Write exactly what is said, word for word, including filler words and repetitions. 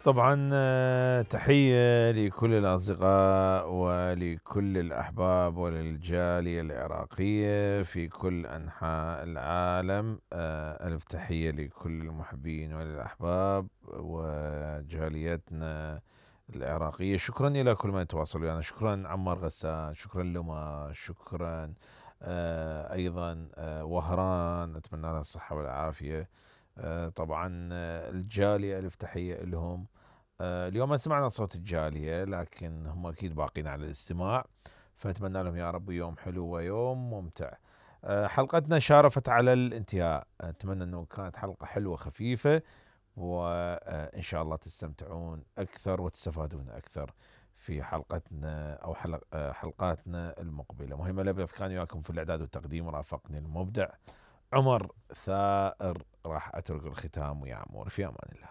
طبعا آه، تحية لكل الأصدقاء ولكل الأحباب وللجالية العراقية في كل أنحاء العالم. آه، ألف تحية لكل المحبين وللأحباب وجاليتنا العراقية. شكرا إلى كل من يتواصل ويانا. شكرا عمار غسان، شكرا لما، شكرا آه، أيضا آه، وهران، أتمنى لها الصحة والعافية. آه، طبعا آه، الجالية ألف تحية لهم. آه، اليوم ما سمعنا صوت الجالية لكن هم أكيد باقين على الاستماع، فأتمنى لهم يا رب يوم حلو ويوم ممتع. آه، حلقتنا شارفت على الانتهاء، أتمنى أنه كانت حلقة حلوة خفيفة، وإن شاء الله تستمتعون أكثر وتستفادون أكثر في حلقتنا أو حلق آه، حلقاتنا المقبلة. مهم الأبيض كان وياكم في الإعداد والتقديم، رافقني المبدع عمر ثائر. راح أترك الختام ويا عمور في أمان الله.